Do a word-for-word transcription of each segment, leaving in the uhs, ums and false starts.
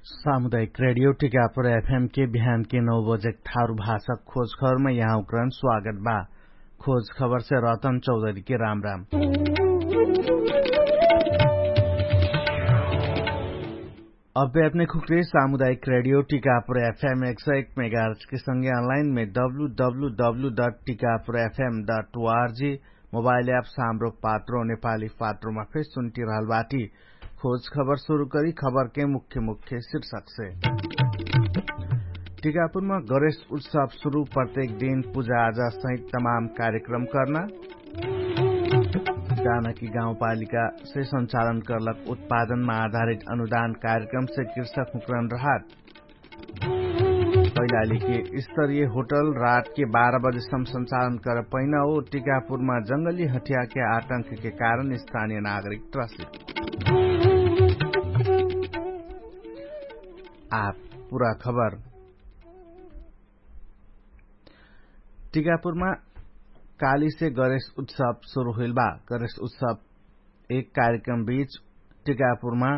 सामुदायिक रेडियो टिकापुर एफएम के बिहान के नौ बजे थारु भाषा खोज खबरमा यहाँ उक्रान स्वागत बा। खोज खबर से रतन चौधरी के राम राम। अब्बे अपने खुक्रे सामुदायिक रेडियो टिकापुर एफएम एक सौ एक मेगाहर्ट्ज के संगे अनलाइन में W W W dot Tikapur FM dot ORG mobile app साम्रोक पात्रो नेपाली पात्रोमा फेर सुन्टी रहल बाटी। खोज खबर सुरु करी खबर के मुख्य मुख्य शीर्षक से। टिकापुरमा गणेश उत्सव सुरु प्रत्येक दिन पुजा आजा सहित तमाम कार्यक्रम कर्ना। जानकी गाउँपालिका से सञ्चालन कर्लक उत्पादनमा आधारित अनुदान कार्यक्रम से कृषक हुक्रन रहत। कैलाली के स्तरीय होटल रात के बाह्र बजे सम सञ्चालन कर पैना हो। टिकापुरमा जंगली हठिया के आतंक के कारण स्थानीय नागरिक त्रसित। आप पुरा खबर। टिकापुरमा काली से गणेश उत्सव सुरु हुइल बा। गणेश उत्सव एक कार्यक्रम बीच टिकापुरमा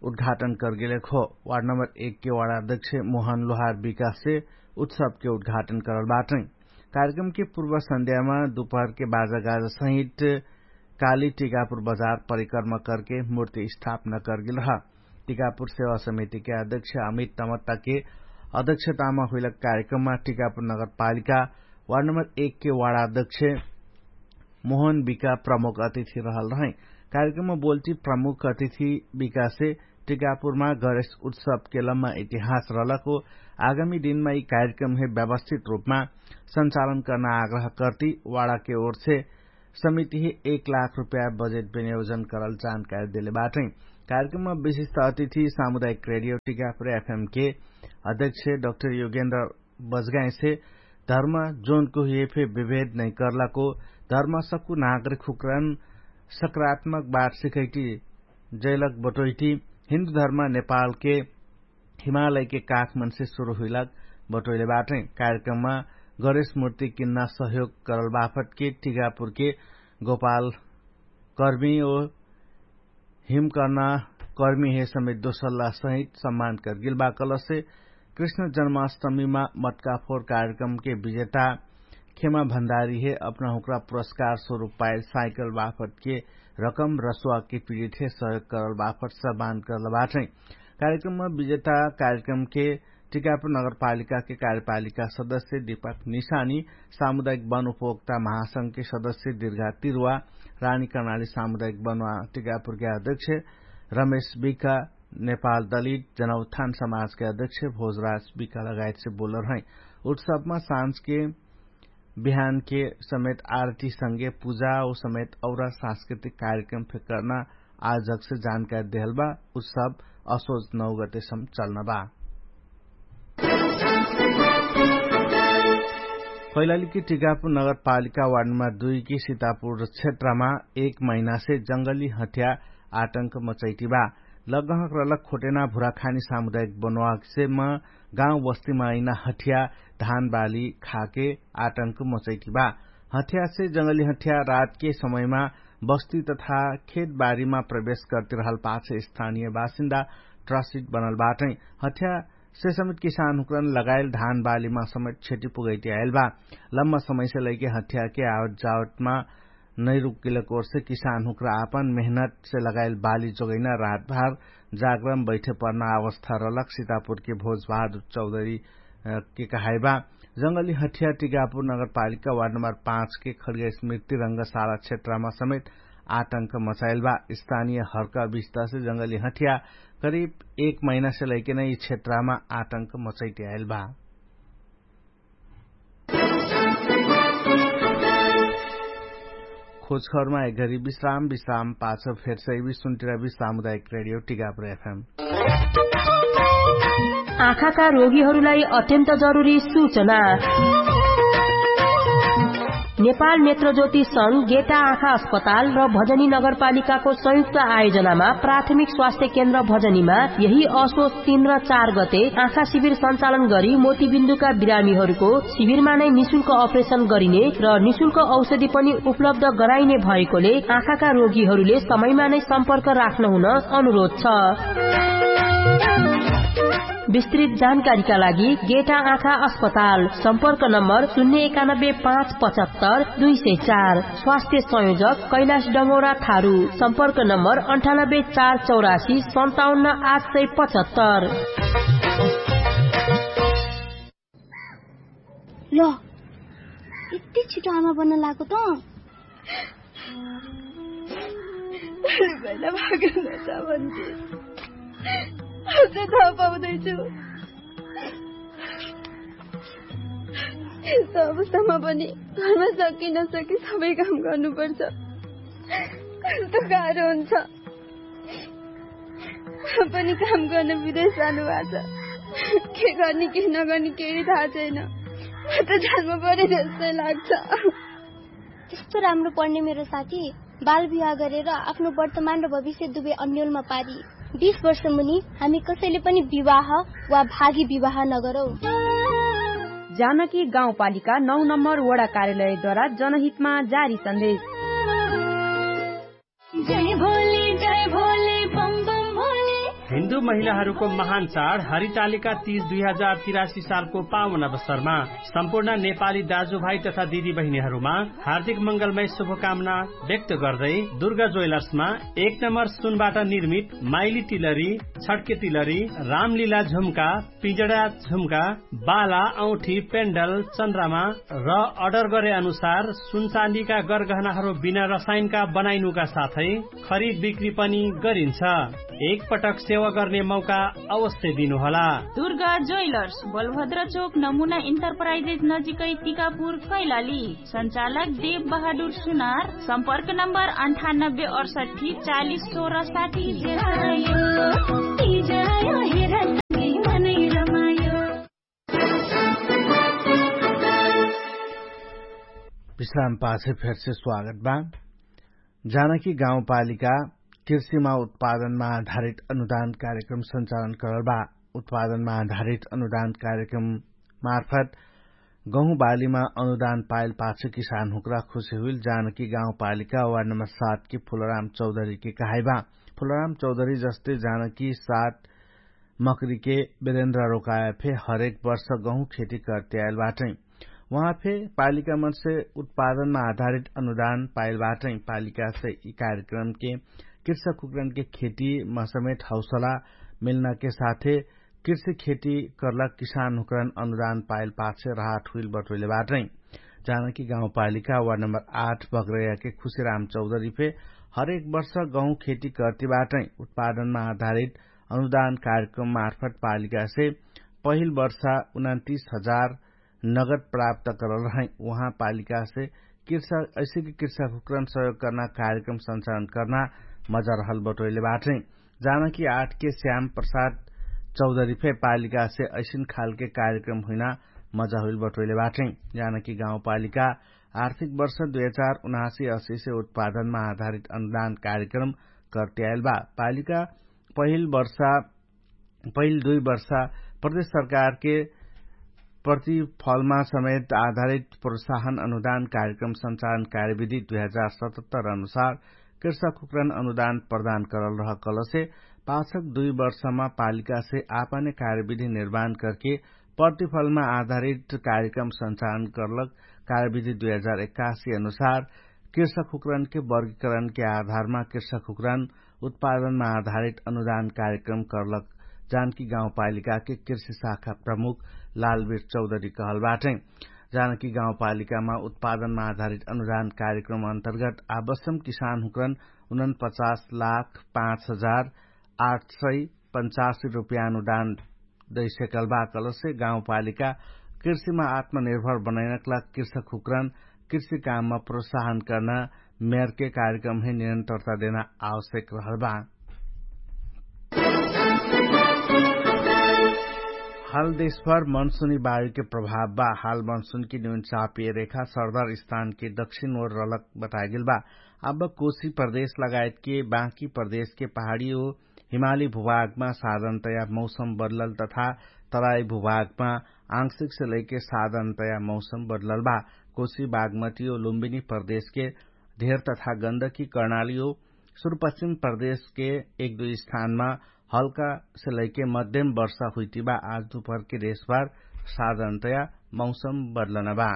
उद्घाटन करगेले खो। वार्ड नम्बर एक के वार्ड अध्यक्ष मोहन लोहार विकास से उत्सव के उद्घाटन करल बाटै। कार्यक्रम के पूर्व सन्ध्यामा दुपहर के बाजा गाजा सहित काली टिकापुर बजार परिक्रमा करके मूर्ति स्थापना करगेल रहा। टिकापुर सेवा समिति के अध्यक्ष अमित तमत्ता के अध्यक्षतामा हुइलक कार्यक्रममा टिकापुर नगरपालिका वार्ड नम्बर एक के वार्ड अध्यक्ष मोहन बिका प्रमुख अतिथि रहल रहै। कार्यक्रममा बोल्टी प्रमुख अतिथि बिकासे टिकापुरमा गणेश उत्सव के लम्मा इतिहास रहलक हो। आगामी दिनमा यि कार्यक्रम हे व्यवस्थित रूपमा सञ्चालन कर्ना आग्रह कर्ति वाडा के ओर से समिति हे एक लाख रुपया बजेट विनियोजन करल जानकारी देले बाटै। कार्यक्रममा विशिष्ट अतिथि सामुदायिक रेडियो टिकापुर एफएम के अध्यक्ष डक्टर योगेन्द्र बजगाइसे धर्म जोनको हुए फे विभेद नै कर्लाको धर्म सक्कु नागरिक हुक्रन सकारात्मक बात सिखैटी जैलक बटोइटी हिन्दु धर्म नेपालके हिमालयके काखमनसे सुरु हुइलक बटोइले बाटै। कार्यक्रममा गणेश मूर्ति किन्ना सहयोग करल बाफटके टिकापुरके गोपाल कर्मी ओ हिमकर्ना कर्मी हे समेत दोसल्ला सहित सम्मान करगेल बा कलसे कृष्ण जन्माष्टमीमा मटकाफोर कार्यक्रमके विजेता खेमा भण्डारी हे अपना हुक्रा पुरस्कार स्वरूप पाइल साइकल बाफटके रकम रसुवाके पिडित हे सहयोग करल बाफट सम्मान करल बाटै। कार्यक्रममा विजेता कार्यक्रमके टिकापुर नगरपालिकाके कार्यपालिका सदस्य दिपक निशानी सामुदायिक वन उपभोक्ता महासंघके सदस्य दिर्घा तिरुवा रानी कर्णाली सामुदायिक वन टिकापुरके अध्यक्ष रमेश बिका नेपाल दलित जनौत्थान समाजके अध्यक्ष भोजराज बिका लगायतसे बोलरहै। उत्सवमा साँझके बिहानके समेत आरती संगे पुजा ओ समेत औरा सांस्कृतिक कार्यक्रम फेकर्ना आयोजकसे जानकारी देहल बा। उत्सव असोज नौ गतेसम चल्न बा। कैलालीकी टिकापुर नगरपालिका वार्ड नम्बर दुई की सीतापुर क्षेत्रमा एक महिनासे जंगली हठ्या आटंक मचैटी बा। लगहक रलक खोटेना भुराखानी सामुदायिक बनवाकसे म गाउँ बस्तीमा अइना हठ्या धानबाली खाके आटंक मचैटी बा। हठ्यासे जंगली हठ्या रातके समयमा बस्ती तथा खेतबारीमा प्रवेश करतिरहल पाछ स्थानीय बासिन्दा ट्रसिट बनल बाटै। हठ्या से समेत किसान हुक्रन लगाइल धान बालीमा समेत क्षति पुगैती आइल बा। लम्मा समयसे लैके हठ्याके आवत जावतमा नैरुकिलक ओरसे किसान हुक्रा आपन मेहनतसे लगाइल बाली जोगैना रातभार जागरम बैठे पर्ना अवस्था रलक सितापुरके भोजबहादुर चौधरी के कहाइबा। जंगली हठ्या टिकापुर नगरपालिका वार्ड नम्बर पाँचके खड्गैस मृत्यु रंगशाला क्षेत्रमा समेत आटंक मचाइल बा। स्थानीय हर्का विस्तासे जंगली हठ्या करिब एक महिनासे लैके नै यि क्षेत्रमा आटंक मचैते आइल बा। खोजखबरमा एक घरी विश्राम विश्राम पाछ फेर सैबी सुन्टिराबी सामुदायिक रेडियो टिकापुर एफएम। आँखाका रोगीहरूलाई अत्यन्त जरुरी सूचना। नेपाल नेत्रज्योति संघ गेटा आँखा अस्पताल र भजनी नगरपालिकाको संयुक्त आयोजनामा प्राथमिक स्वास्थ्य केन्द्र भजनीमा यही असोच तीन र चार गते आँखा शिविर सञ्चालन गरी मोतीबिन्दुका बिरामीहरूको शिविरमा नै निशुल्क अपरेशन गरिने र निशुल्क औषधि पनि उपलब्ध गराइने भएकोले आँखाका रोगीहरूले समयमा नै सम्पर्क राख्न हुन अनुरोध छ। विस्तृत जानकारीका लागि गेटा आँखा अस्पताल, सम्पर्क नम्बर शून्य एकानब्बे पाँच पचहत्तर दुई सय चार। स्वास्थ्य संयोजक कैलाश डमोरा थारु, सम्पर्क नम्बर अन्ठानब्बे चार चौरासी सन्ताउन्न आठ सय पचहत्तर। ल, यति छिटो आमा बन्न लागेको त? भोलि पहिला भागेन छ भन्थे। अझै थाहा पाउँदैछु। यस्तो अवस्थामा पनि घरमा सकि नसकि सबै काम गर्नुपर्छ। कस्तो गाह्रो हुन्छ। म पनि काम गर्न विदेश जानुभएको छ। के गर्ने के नगर्ने केही थाहा छैन। म त जान्नु पर्यो जस्तै लाग्छ। त्यस्तो राम्रो पढ्ने मेरो साथी बाल विवाह गरेर आफ्नो वर्तमान र भविष्य दुवै अन्यलमा पारी। बिस वर्ष मुनि हामी कसैले पनि विवाह वा भागी विवाह नगरौँ। जानकी गाउँपालिका नौ नम्बर वडा कार्यालयद्वारा जनहितमा जारी सन्देश। जय भोले, जय भोले, बम बम भोले। हिन्दू महिलाहरूको महान चाड हरितालिका तीज दुई हजार तिरासी सालको पावन अवसरमा सम्पूर्ण नेपाली दाजुभाइ तथा दिदीबहिनीहरूमा हार्दिक मङ्गलमय शुभकामना व्यक्त गर्दै दुर्गा ज्वेलर्समा एक नम्बर सुनबाट निर्मित माइली तिलरी, छड्के तिलरी, रामलीला झुम्का, पिजडा झुम्का, बाला, औठी, पेन्डल, चन्द्रमा र अर्डर गरे अनुसार सुनचाँदीका गरगहनाहरू बिना रसायनका बनाइनुका साथै खरिद बिक्री पनि गरिन्छ। एकपटक सेवा गर्ने मौका अवश्य दिनुहोला। दुर्गा ज्वेलर्स, बलभद्र चोक, नमुना इन्टरप्राइजेस नजिकै टिकापुर, कैलाली। सञ्चालक देव बहादुर सुनार। सम्पर्क नम्बर अन्ठानब्बे अडसट्ठी चालिस सोह्र साठी। विश्राम पाछे फेरसे स्वागत बा। जानकी गाउँपालिका कृषिमा उत्पादनमा आधारित अनुदान कार्यक्रम सञ्चालन करल बा। उत्पादनमा आधारित अनुदान कार्यक्रम मार्फत गहुँ बालीमा अनुदान पाइल पाछ किसान हुक्रा खुशी हुइल जानकी गाउँपालिका वार्ड नम्बर सात के फुलराम चौधरी के कहाइबा। फुलराम चौधरी जस्ते जानकी सात मकरी के बेरेन्द्र रोकाया फे हरेक वर्ष गहुँ खेती करते आइल बाटै। उहाँ फे पालिका मनसे उत्पादनमा आधारित अनुदान पाइल बाटै। पालिका से यि कार्यक्रम के कृषक हुक्रन के खेती मसमेत हौसला मिल्ना के साथे कृषि खेती कर्लक किसान हुक्रन अनुदान पाइल पाछे राहत हुइल बटोइले बाटै। जानकी गाउँपालिका वार्ड नम्बर आठ बग्रैया के खुशीराम चौधरी फे हरेक वर्ष गहुँ खेती कर्ती बाटै। उत्पादनमा आधारित अनुदान कार्यक्रम मार्फत पालिका से पहिल वर्ष उनान्तीस हजार नगद प्राप्त करल रहै। उहाँ पालिका से कृषक ऐसे कि कृषक हुक्रन सहयोग कर्ना कार्यक्रम सञ्चालन कर्ना मजा रहल बटोइले बाटै। जानकी आठ के श्याम प्रसाद चौधरी फे पालिका से ऐसिन खालके कार्यक्रम हुइना मजा हुइल बटोइले बाटै। जानकी गाउँपालिका आर्थिक वर्ष दुई हजार उनासी असी से उत्पादनमा आधारित अनुदान कार्यक्रम कर्त्याइल बा। पालिका पहिल वर्षा पहिल दुई वर्षा प्रदेश सरकारके प्रतिफलमा समेत आधारित प्रोत्साहन अनुदान कार्यक्रम सञ्चालन कार्यविधि दुई हजार सतहत्तर अनुसार कृषक हुक्रन अनुदान प्रदान करल रहकलसे पाछक दुई वर्षमा पालिकासे आपने कार्यविधि निर्माण करके प्रतिफलमा आधारित कार्यक्रम सञ्चालन करलक। कार्यविधि दुई हजार एकासी अनुसार कृषक हुक्रनके वर्गीकरणके आधारमा कृषक हुक्रन उत्पादनमा आधारित अनुदान कार्यक्रम करलक। जानकी गाउँपालिकाके कृषि शाखा प्रमुख लालवीर चौधरी कहल बाटै। जानकी गाउँपालिकामा उत्पादनमा आधारित अनुदान कार्यक्रम अन्तर्गत आबस्सम किसान हुक्रन उनन पचास लाख पाँच हजार आठ सय पञ्चासी रुपियाँ अनुदान दैसेकल बा कलसे गाउँपालिका कृषिमा आत्मनिर्भर बनैनकला कृषक हुक्रन कृषि काममा प्रोत्साहन कर्ना मेयरके कार्यक्रम हे निरन्तरता देना आवश्यक रहल बा। हाल देशभर मनसुनी बायुके प्रभाव बा। हाल मनसुनकी न्यून चापिय रेखा सरदार स्थानके दक्षिण ओर रलक बताएगेल बा। अब कोशी प्रदेश लगायतके बाँकी प्रदेशके पहाडी ओ हिमाली भूभागमा साधनतया मौसम बदलल तथा तराई भूभागमा आंशिकसे लैके साधनतया मौसम बदलल बा। कोशी बागमती ओ लुम्बिनी प्रदेशके धेर तथा गन्दकी कर्णाली ओ सुरुपश्चिम प्रदेशके एक दुई स्थानमा हल्का से लैके मध्यम वर्षा हुइतिबा। आज दुपहरके देशभर साधारणतया मौसम बदलनबा।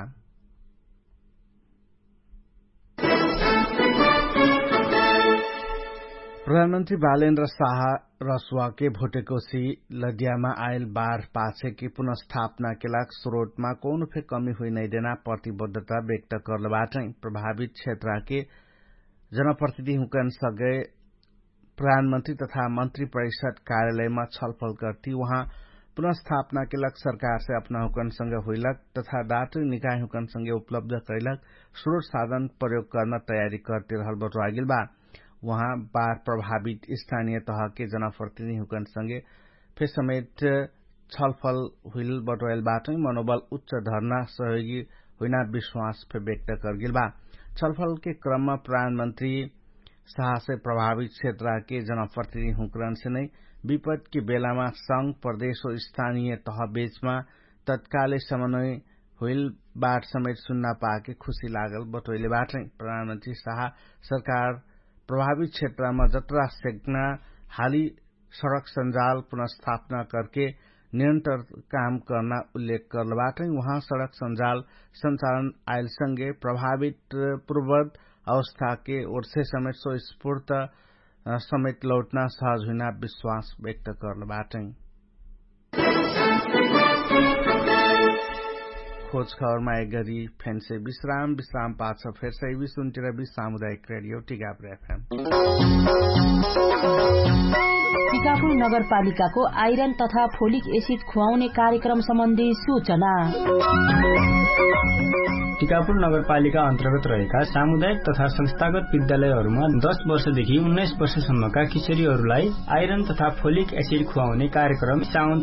प्रधानमन्त्री बालेन्द्र साहा रसुवाके भोटेकोसी लदियामा आइल बार पाछेके पुनर्स्थापनाके लाग स्रोटमा कौनो फे कमी हुइनैदेना प्रतिबद्धता व्यक्त कर्लबाटै। प्रभावित क्षेत्रके जनप्रतिनिधिहुँकन सगै प्रधानमन्त्री तथा मन्त्री परिषद कार्यालयमा छलफल गर्ती उहाँ पुनर्स्थापनाके लाग सरकारसे अपनाहुँकन संगे हुइलक तथा दातरी निकायहुँकन संगे उपलब्ध कैलक स्रोट साधन प्रयोग कर्न तयारी कर्तिरहल बटुवागेल बा। उहाँ बार प्रभावित स्थानीय तहके जनप्रतिनिधिहुँकन संगे फे समेट छलफल हुइल बटोएल बाटै मनोबल उच्च धर्ना सहयोगी हुइना विश्वास फे व्यक्त कर्गेल बा। छलफलके क्रममा प्रधानमन्त्री साहसे प्रभावित क्षेत्रके जनप्रतिनिधि हुँकरनसे नै विपदके बेलामा संग प्रदेश हो स्थानीय तहबेचमा तत्काले समन्वय हुइल बाट समेट सुन्ना पाके खुशी लागल बटोइले बाटै। प्रधानमन्त्री साहा सरकार प्रभावित क्षेत्रमा जत्रा सेक्ना हाली सडक सञ्जाल पुनर्स्थापना करके निरन्तर काम कर्ना उल्लेख कर्लबाटै। उहाँ सडक सञ्जाल सञ्चालन आइलसँगे प्रभावित पूर्वत अवस्थाके ओर्से समेट सो स्फूर्त समेट लौटना सहज हुइना विश्वास व्यक्त कर्लबाटै। खोज खबरमा एक गरी फेन्से विश्राम विश्राम पाछ फेर्सै विसुन्तिर विश्राम उदायक रेडियो टिकापुर एफएम। टिकापुर नगरपालिकाको आइरन तथा फोलिक एसिड खुवाउने कार्यक्रम सम्बन्धी सूचना। टिकापुर नगरपालिका अन्तर्गत रहेका सामुदायिक तथा संस्थागत विद्यालयहरूमा दश वर्षदेखि उन्नाइस वर्षसम्मका किशोरीहरूलाई आइरन तथा फोलिक एसिड खुवाउने कार्यक्रम साउन